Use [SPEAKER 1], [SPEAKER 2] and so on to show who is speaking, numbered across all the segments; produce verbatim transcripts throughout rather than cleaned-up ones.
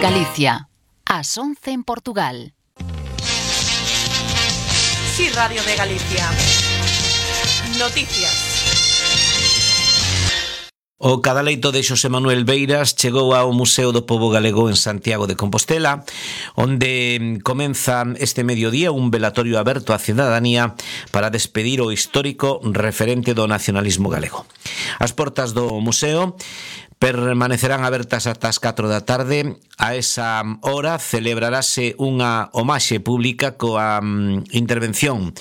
[SPEAKER 1] Galicia, ás once en Portugal.
[SPEAKER 2] Sí, Radio de Galicia. Noticias.
[SPEAKER 3] O cadaleito de Xosé Manuel Beiras chegou ao Museo do Pobo Galego en Santiago de Compostela, onde comeza este mediodía un velatorio aberto á cidadanía para despedir o histórico referente do nacionalismo galego. As portas do museo permanecerán abertas ata as catro da tarde. A esa hora celebrarase unha homaxe pública coa um, intervención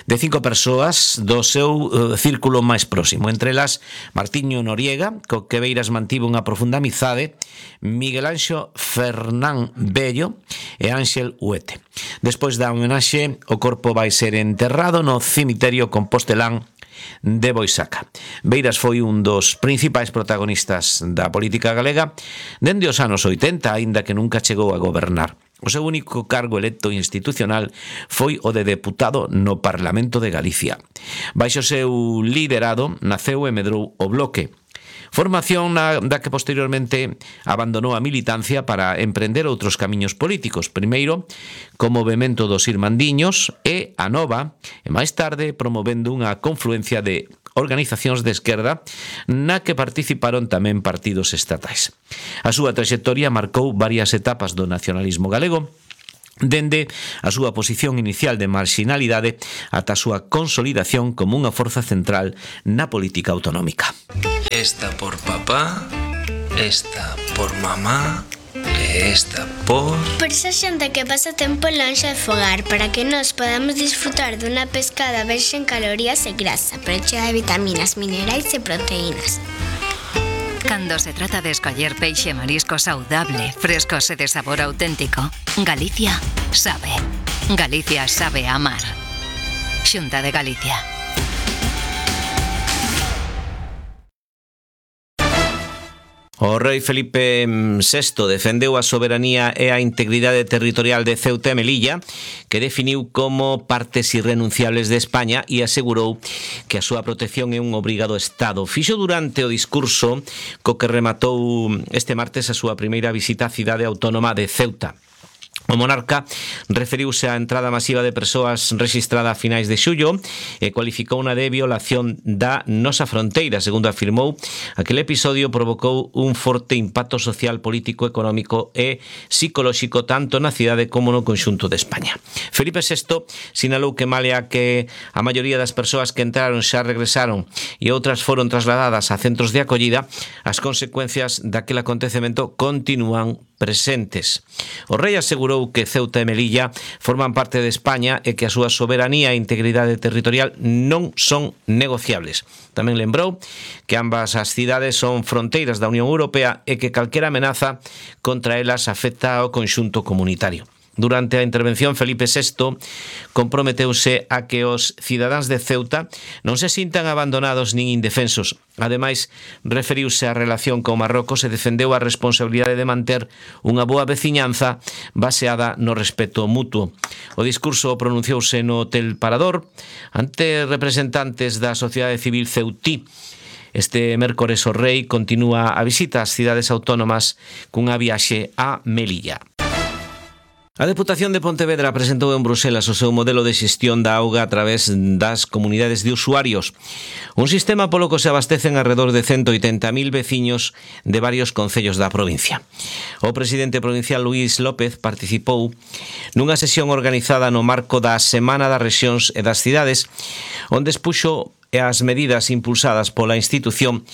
[SPEAKER 3] de cinco persoas do seu uh, círculo máis próximo, entre elas Martiño Noriega, co que Beiras mantivo unha profunda amizade, Miguel Anxo Fernán Bello e Ángel Huete. Despois da homenaxe, o corpo vai ser enterrado no cemiterio compostelán de Boisaca. Beiras foi un dos principais protagonistas da política galega dende os anos oitenta, aínda que nunca chegou a gobernar. O seu único cargo electo institucional foi o de deputado no Parlamento de Galicia. Baixo o seu liderado naceu e medrou o Bloque, formación na, da que posteriormente abandonou a militancia para emprender outros camiños políticos, primeiro como movemento dos Irmandiños e a Nova, e máis tarde promovendo unha confluencia de organizacións de esquerda na que participaron tamén partidos estatais. A súa traxectoria marcou varias etapas do nacionalismo galego, dende a súa posición inicial de marxinalidade ata a súa consolidación como unha forza central na política autonómica.
[SPEAKER 4] Esta por papá, esta por mamá e esta por...
[SPEAKER 5] Por esa xente que pasa tempo lonxe de fogar, para que nos podamos disfrutar dunha pescada verxe en calorías e grasa, pero chea de vitaminas, minerais e proteínas.
[SPEAKER 1] Cando se trata de escoller peixe e marisco saudable, frescos e de sabor auténtico, Galicia sabe. Galicia sabe amar. Xunta de Galicia.
[SPEAKER 3] O rei Felipe sexto defendeu a soberanía e a integridade territorial de Ceuta e Melilla, que definiu como partes irrenunciables de España e asegurou que a súa protección é un obrigado Estado. Fixo durante o discurso co que rematou este martes a súa primeira visita á cidade autónoma de Ceuta. O monarca referiuse á entrada masiva de persoas rexistrada a finais de xullo e cualificou unha de violación da nosa fronteira. Segundo afirmou, aquel episodio provocou un forte impacto social, político, económico e psicolóxico tanto na cidade como no conxunto de España. Felipe sexto sinalou que malia que a maioría das persoas que entraron xa regresaron e outras foron trasladadas a centros de acollida, as consecuencias daquel acontecemento continúan presentes. O rei asegurou que Ceuta e Melilla forman parte de España e que a súa soberanía e integridade territorial non son negociables. Tamén lembrou que ambas as cidades son fronteiras da Unión Europea e que calquera amenaza contra elas afecta ao conxunto comunitario. Durante a intervención, Felipe sexto comprometeuse a que os cidadáns de Ceuta non se sintan abandonados nin indefensos. Ademais, referiuse á relación con Marrocos e defendeu a responsabilidade de manter unha boa veciñanza baseada no respeto mutuo. O discurso pronunciouse no Hotel Parador ante representantes da sociedade civil ceutí. Este mércores o rei continúa a visita ás cidades autónomas cunha viaxe a Melilla. A Deputación de Pontevedra presentou en Bruselas o seu modelo de xestión da auga a través das comunidades de usuarios. Un sistema polo que se abastecen alrededor de ciento oitenta mil veciños de varios concellos da provincia. O presidente provincial Luís López participou nunha sesión organizada no marco da Semana das Rexións e das Cidades, onde expuxo as medidas impulsadas pola institución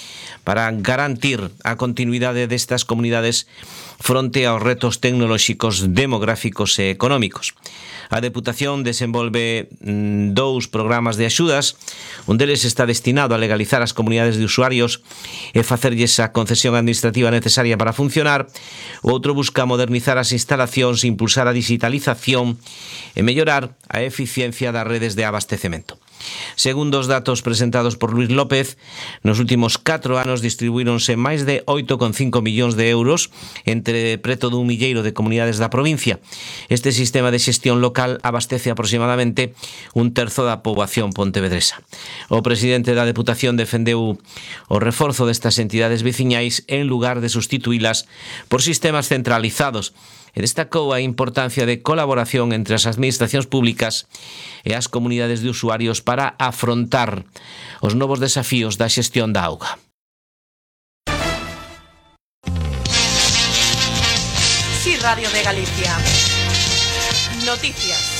[SPEAKER 3] para garantir a continuidade destas comunidades fronte aos retos tecnolóxicos, demográficos e económicos. A Deputación desenvolve dous programas de axudas. Un deles está destinado a legalizar as comunidades de usuarios e facerlles a concesión administrativa necesaria para funcionar. O outro busca modernizar as instalacións, impulsar a digitalización e mellorar a eficiencia das redes de abastecemento. Segundo os datos presentados por Luis López, nos últimos catro anos distribuíronse máis de oito coma cinco millóns de euros entre preto dun milleiro de comunidades da provincia. Este sistema de xestión local abastece aproximadamente un terzo da poboación pontevedresa. O presidente da Deputación defendeu o reforzo destas entidades veciñais en lugar de sustituílas por sistemas centralizados e destacou a importancia de colaboración entre as administracións públicas e as comunidades de usuarios para afrontar os novos desafíos da xestión da auga.
[SPEAKER 2] Sí, Radio de Galicia. Noticias.